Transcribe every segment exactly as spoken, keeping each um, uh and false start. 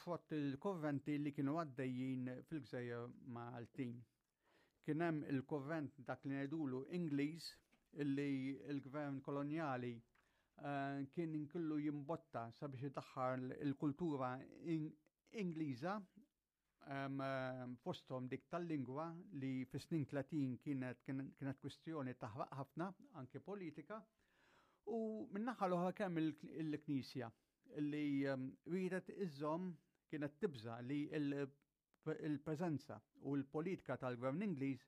frott il-kurrenti li kienu għaddejjin fil-gżejjer Maltin. Kien hemm il-kurrent dak li ngħidulu Ingliż, illi il-gvern kolonjali eh, kien inkullu jimbotta sabiex idaħħal il-kultura Ingliża, fosthom dik tal-lingwa li fis-snin tletin kienet kienet kwistjoni taħraq ħafna anke politika, u min-naħa l-oħra kemm il-Knisja li riedet iżżomm, kienet tibża li il-preżenza u l-politika tal-gvern Ingliż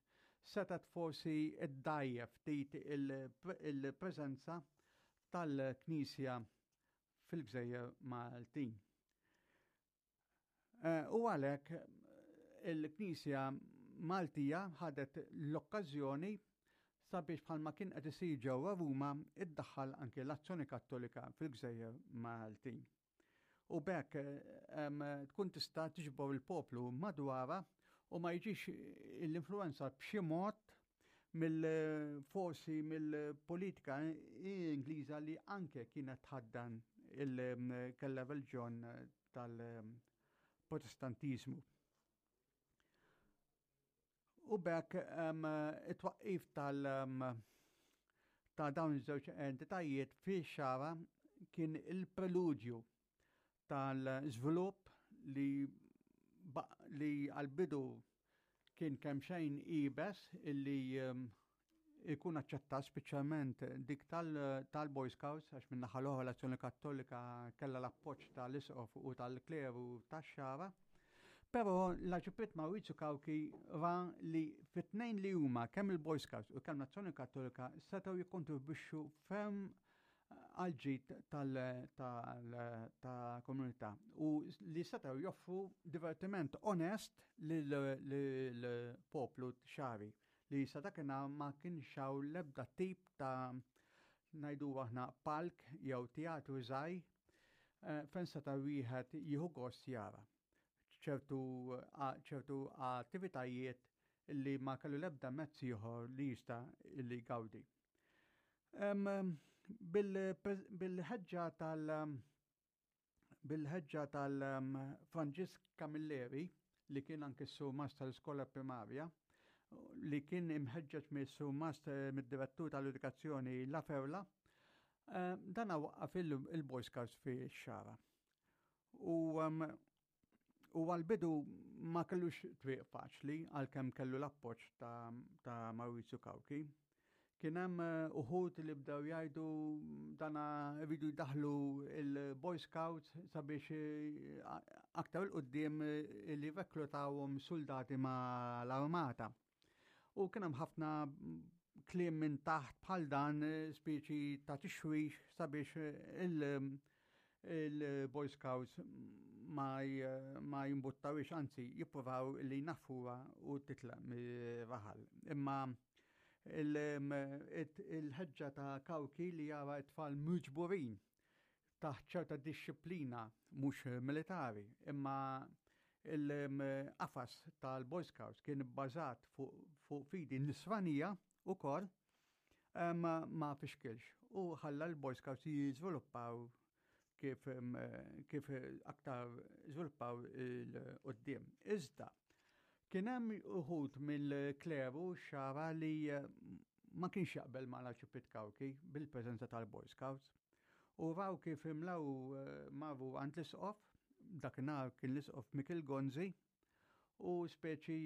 setgħet forsi ddgħajjef ftit il-preżenza tal-Knisja fil-gżejjer Maltin. Eh, u għalhekk il-Knisja Maltija ħadet l-okkażjoni sabiex, bħalma kien qed isir ġewwa Ruma, iddaħħal anke l-Azzjoni Kattolika fil-gżejjer Maltin. U b'hekk tkun tista' tiġbor il-poplu madwarha u ma jiġix l-influenza b'xi mod mill-forsi mill-politika Ingliża li anke kienet tħaddan il-kella reliġjon tal-Protestantizmu. U b'hekk it-twaqqif tal- ta' dawn iż-żewġ entitajiet fix-Xagħra kien il-preludju tal-żvilupp li li għal-bidu kien kemm xejn iebes illi ikun aċċettat, speċjalment dik tal-Boy Scouts, għax minn naħa l-oħra l-Azzjoni Kattolika kellha l-appoġġ tal-Isqof u tal-kleru tax-Xagħra. Però l-Arċipriet Maurizio Cauchi ra li fit-tnejn li huma, kemm il-Boy Scouts u kemm l-Azzjoni Kattolika, setgħu jikkontribwixxu ferm għal-ġid tal-komunità u li setgħu joffru divertiment onest lill-poplu xagħri li sa dakinhar ma kienx hawn l-ebda tip ta', ngħidu aħna, palk jew teatru żgħir eh, fejn seta' wieħed jieħu gost jara ċertu ċertu attivitajiet li ma kellu l-ebda mezz ieħor li jista' li jgawdi. Bil-ħeġġa tal- bil-ħeġġa tal-Franġisk Camilleri, li kien anke s-surmast tal-iskola primarja, li kien imħeġġeġ mis-surmast, mid-direttur tal-edukazzjoni La Ferla, dan waqqaf il-Boy Scouts fix-Xagħra. U U għal-bidu ma kellux triq faċli, għalkemm kellu l-appoġġ ta', ta Maurizio Cauchi. Kien hemm eh, uħud li bdew jgħidu dana iridu jdaħlu il-Boy Scouts sabiex eh, aktar 'il quddiem eh, li reklutawhom soldati ma l-armata. U kien hemm ħafna kliem minn taħt bħal dan, speċi ta' tixwix sabiex il- il-Boy Scouts ma, ma jimbuttawix, anzi jippruvaw li jnaffruha u titlaq mir-raħal. Imma il-ħeġġa ta' Cauchi li jara t-tfal miġburin taħt ċerta dixxiplina mhux militari, imma il-qafas tal-Boy Scouts kien bbażat fuq fidi nisranija ukoll, ma fixkilx u ħalla l-Boy Scouts jiżviluppaw kif, kif aktar żviluppaw 'il quddiem. Iżda, kien hemm uħud mill-kleru Xagħra li ma kienx jaqbel ma l-Arċipriet Cauchi bil-preżenza tal-Boy Scouts. U raw kif imlaw marru għand l-isqof, dakinhar kien l-Isqof Mikil Gonzi, u speċi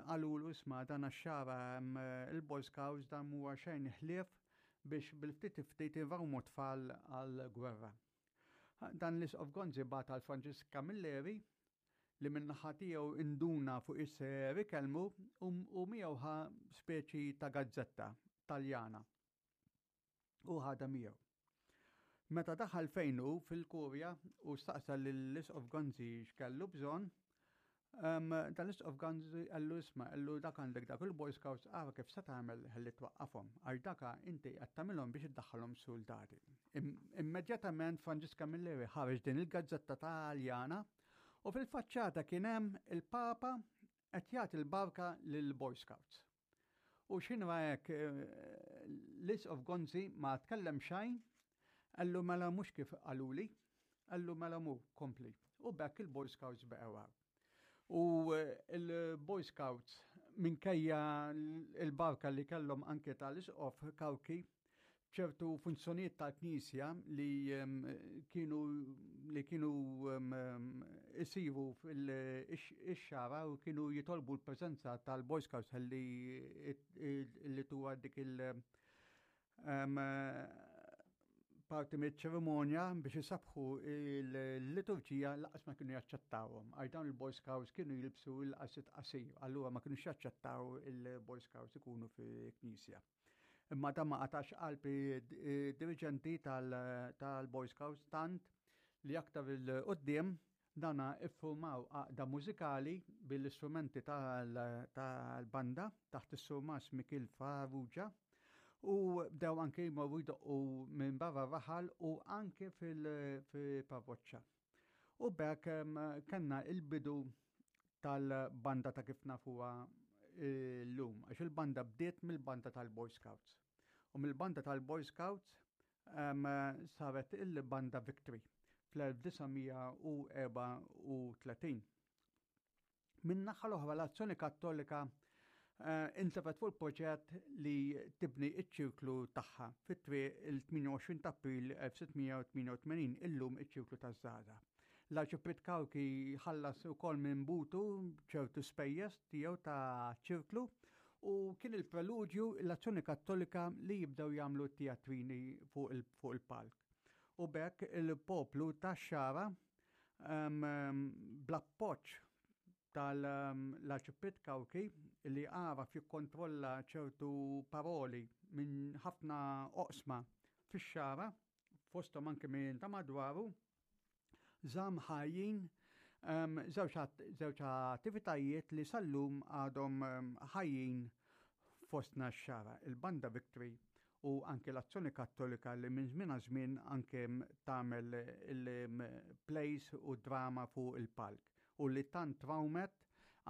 qalulu: "Isma', dan għax-Xagħra il-Boy Scouts dan huwa xejn ħlief biex bil-ftit ftit irawmu tfal għal-gwerra." Dan l-Isqof Gonzi bagħat għal Franġisk Camilleri, li min-naħa tiegħu induna fuq is-ser ikellmu u miegħu ħa speċi ta' gazzetta Taljana. U ħadha miegħu. Meta daħal fejnu fil-kurja u staqsa l-Isqof Gonzi x'kellu bżonn, dan l-Isqof Gonzi qallu: "Isma'," qallu, "dak għandek dak il-Boy Scouts, ara kif se tagħmel ħalli twaqqafhom, għax daka inti qed tagħmilhom biex iddaħħalhom soldati." Immedjatament Franġisk Camilleri ħareġ din il-gazzetta Taljana u fil-faċċata kien hemm il-Papa qed jagħti l-barka lill-Boy Scouts. U x'ħin hekk eh, l-Isqof Gonzi ma tkellem xejn, qallu: "Mela mhux kif qaluli," qallu, "mela mu kompli." U b'hekk il-Boy Scouts baqgħu hawn. U eh, il-Boy Scouts, minkejja l-barka li kellhom anke tal-Isqof Cauchi, ċertu funzjonijiet tal-Knisja li kienu li kienu isiru fil-Xagħra u kienu jitolbu l-preżenza tal-Boy Scouts li li tuwa dik il- parti mill-ċerimonja biex isabbħu il-liturġija, lanqas ma kienu jaċċettawhom. Għax dawn il-Boy Scouts kienu jilbsu l-qalziet qasir, allura ma kienu jaċċettaw il-Boy Scouts ikunu fi knisja. Imma dan ma qatax qalb dirigenti tal-Boy Scouts, tant li aktar 'il quddiem dana iffurmaw għaqda mużikali bil-istrumenti tal-banda taħt is-Surmas Mikil Farrugia u bdew anke jmorru jdoqqu minn barra raħal u anke fil-parroċċa. U b'hekk kellna il-bidu tal-banda ta' kif nafuha llum, għax il-banda bdiet mill-banda tal-Boy Scouts. U mill-banda tal-Boy Scouts saret il-banda Victory fl-elf disa' mija u erbgħa u tletin. Min naħa l-oħra, l-Azzjoni Kattolika uh, intefgħet fuq il-proġett li tibni iċ-ċirklu tagħha fit-triq il-tmienja u għoxrin ta' April elf sitt mija u tmienja u tmenin, illum iċ-Ċirklu taż-Żgħażagħ. L-Arċipriet Cauchi ħallas ukoll minn butu ċertu spejjeż tiegħu ta' ċirklu u kien il-preludju l-Azzjoni Kattolika li jibdew jagħmlu teatrini fuq il-palk. U b'hekk il-poplu tax-Xagħra, bl-appoġġ tal-Arċipriet Cauchi li għaraf jikkontrolla ċertu paroli minn ħafna oqsma fix-Xagħra, fosthom anke minn ta' madwaru, żamm ħajjin żewġ attivitajiet li sal-lum għadhom ħajjin fostna x-Xagħra, il-Banda Victory u anke l-Azzjoni Kattolika li minn żmien għal żmien anke tagħmel il-plays u drama fuq il-palk u li tant trawmet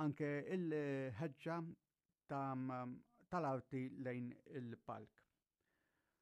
anke il-ħeġġa tal-arti lejn il-palk.